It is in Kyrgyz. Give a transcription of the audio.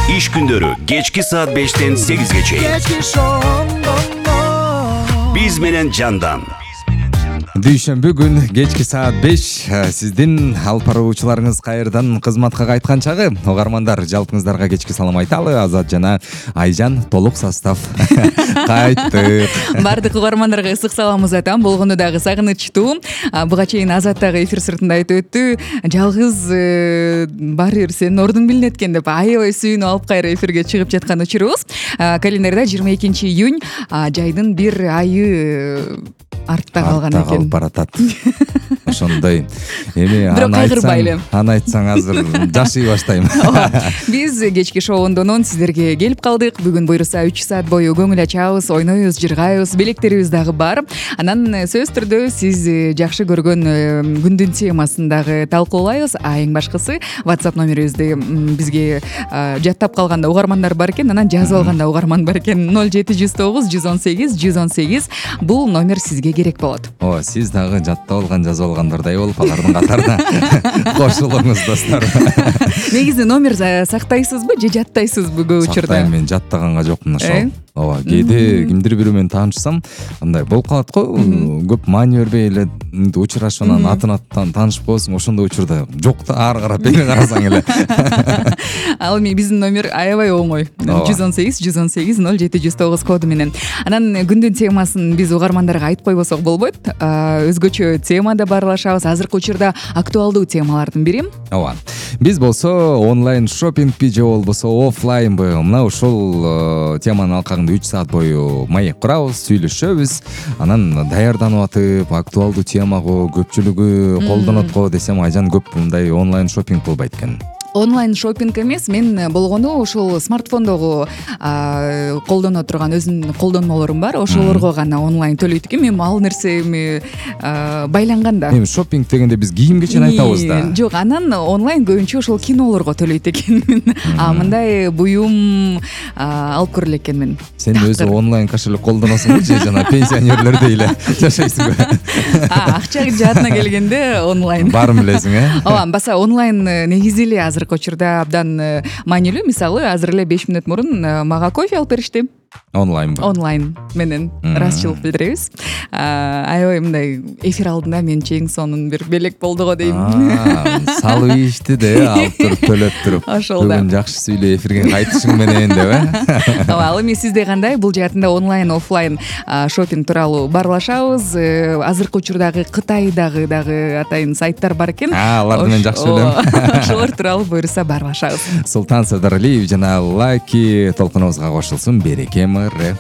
Иш күндөрү кечки саат 5-тен 8-ге чейин. Биз менен Жандан. Дүйшөмбү күн кечки саат 5 сиздин алып баруучуларыңыз кайрадан кызматка кайткан чагы. Угармандар, жалпыңыздарга кечки салам айталы. Азат жана Айжан толук состав кайттык. Бардык угармандарга ысык саламыбыз айтам. Болгону дагы сагынычтуу. Буга чейин Азат дагы эфир сыртында айтып өттү. Жалгыз бары бир сенин ордуң билинет экен деп аябай сүйүнүп алып кайра эфирге чыгып жаткан учурубуз. Календарда 22-июнь жайдын бир айы артта калган экен. Баратат. Ошондой. Эми аны айтсаң азыр жашый баштайм. Биз кечки шоундонун сиздерге келип калдык. Бүгүн буюрса 3 саат бою көңүл ачабыз, ойнойбуз, жыргайбыз, белектерибиз дагы бар. Анан сөзсүз түрдө сиз жакшы көргөн күндүн темасын дагы талкуулайбыз. Эң башкысы WhatsApp номерибизди бизге жаттап калганда угармандар бар экен, анан жазып алганда угарман бар экен. 0709 118 118 бул номер сизге керек болот. Сиз дагы жаттап алган, жазып алгандырдай болуп алардын катарына кошулуңуз достор. Негизи номер сактайсызбы же жаттайсызбы көп учурда? Сактайм, мен жаттаганга жокмун ошол. Ооба, кээде кимдир бирөө менен таанышсам, андай болуп калат го, көп маани бербей эле учурашып анан атын таанышып коесуң, ошондой учурда жок да, ары карап эми карасаң эле. Ал эми биздин номер аябай оңой. 118 118 0709 коду менен. Анан күндүн темасын биз угармандарга айтып койбосок болбойт. Өзгөчө темада баарлашабыз. Азыркы учурда актуалдуу темалардын бири. Ооба. Биз болсо онлайн шопингби же болбосо офлайнбы, мына ушул теманын алкагында 3 саат бою маек курабыз, сүйлөшөбүз. Анан даярданып атып, актуалдуу тема го, көпчүлүгү колдонот го десем, Айжан көп мындай онлайн шопинг кылбайт экен. Онлайн шопинг эмес, мен болгону ушул смартфондогу колдоно турган өзүнүн колдонмолорум бар. Ошолорго гана онлайн төлөйт экен. Мен ал нерсе байланган да. Эми шопинг дегенде биз кийим кечен айтабыз да. Жок, анан онлайн көбүнчө ошол кинолорго төлөйт экенмин. Мындай буюм алып көрө элекенмин. Сен өзү онлайн кошелек колдоносуңбу же жана пенсионерлердей эле жашайсыңбы? Акча жаатына келгенде онлайн. Баарын билесиң, Ооба, баса онлайн негизи эле азыр учурда абдан маанилүү. Мисалы, азыр эле 5 мүнөт мурун мага кофе алып беришти. Онлайнбы? Онлайн менен ыраазычылык билдиребиз. Аябай мындай эфир алдында мен чең сонун бир белек болду го дейм. Салып ийишти да, алып туруп төлөп туруп. Бүгүн жакшы сүйлөп эфирге кайтышың менен деп, Ооба, ал эми сизде кандай? Бул жаатында онлайн, офлайн шопинг тууралуу баарлашабыз. Азыркы учурдагы Кытайдагы дагы атайын сайттар бар экен. Аларды мен жакшы билем. Ошолор тууралуу буюрса баарлашабыз. Султан Садаралиев жана Лаки толкунубузга кошулсун. Береке мыры.